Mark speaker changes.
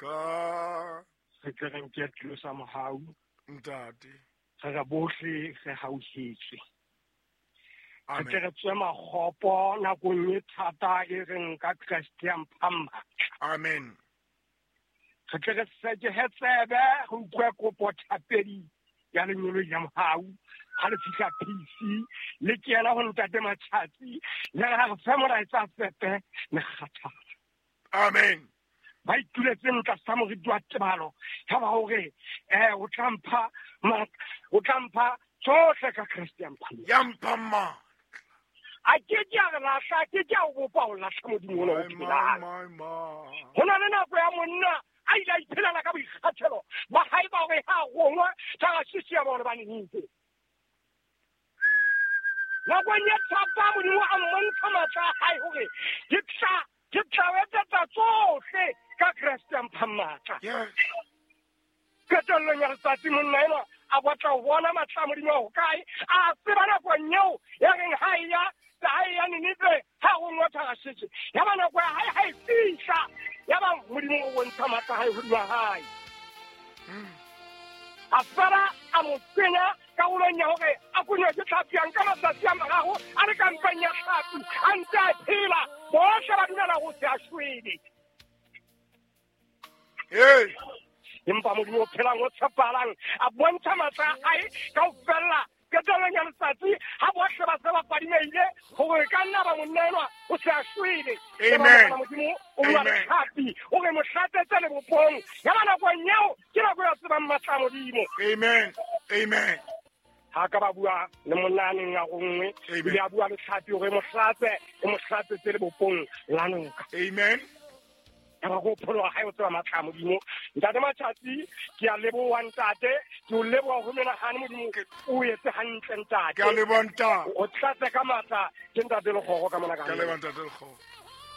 Speaker 1: Ka
Speaker 2: Re tle re nke tulo sa mohau.
Speaker 1: Ntate.
Speaker 2: Re re bohle re hauhetswe. Re
Speaker 1: Amen.
Speaker 2: tle re tswe makgopo nakong e thata e reng ka Kreste ya mpha matla.
Speaker 1: Amen.
Speaker 2: Re tle re sekehe tsebe re utlwe kopo thapedi ya lenyoloi la mohau. Ha le fihla PC le kena ho ntate Matjhatsi le re ha re fe molaetsa fepe mekgathala.
Speaker 1: Amen.
Speaker 2: Ba ituletseng tlasa moriti wa tebalo ya ba hore o tla mpha matla, o tla mpha tsohle ka Kreste ya mpha matla.
Speaker 1: Ya mpha matla.
Speaker 2: A ke ke a re lahla, a ke ke a o bopa ho lahla Modimo ona o
Speaker 1: My, my,
Speaker 2: phelang.
Speaker 1: my, my.
Speaker 2: Ho na le nako ya monna a ile a iphelela ka boikgethelo ba hae ba hore ha rongwa Tarashishi ya bona ba Ninive. Nakong ya thata Modimo a mmontsha matla a hae hore ke tla o etsetsa tsohle ka Kreste ya mphang matla.
Speaker 1: Yes.
Speaker 2: Qetellong ya letsatsi monna enwa a batla ho bona matla a Modimo a hokae, a tseba nakong eo ya reng ha e ya Ninive ha rongwa Tarashishi. Ya ba nako ya hae ha e fihla, ya ba Modimo o bontsha matla a hae hodima hae. A fela a mo kenya karolong ya hore a konywe ke tlhapi, a nka matsatsi a mararo a le ka mpeng ya tlhapi, a ntse a phela, bohle ba dumela ho se a shwele.
Speaker 1: Hey.
Speaker 2: Empa Modimo o phelang o tshepahalang a bontsha matla a hae ka ho fella. Qetellong ya letsatsi ha bohle ba se ba fadimehile hore ka nna ba monna enwa o se a shwele.
Speaker 1: Amen.
Speaker 2: Eba Modimo o bua le
Speaker 1: Amen.
Speaker 2: tlhapi, o re mo hlatsetse lebopong. Ya ba nakong eo ke nako ya tsebang matla a Modimo.
Speaker 1: Amen. Amen.
Speaker 2: Ha ka ba bua le monna a neng a ronngwe,
Speaker 1: Amen.
Speaker 2: ebile a bua le tlhapi hore e mo hlatse, e mo hlatsetse lebopong la noka.
Speaker 1: Amen.
Speaker 2: Ya ba go pholoha hae o tseba matla a Modimo. Ntate Matjhatsi, ke a leboha ntate, ke o leboha ho menahane Modimo, o etse hantle ntate.
Speaker 1: Ke a leboha ntate.
Speaker 2: O tlatse ka matla ke ntate Lekgoro ka mona ka
Speaker 1: Ke a leboha ntate Lekgoro.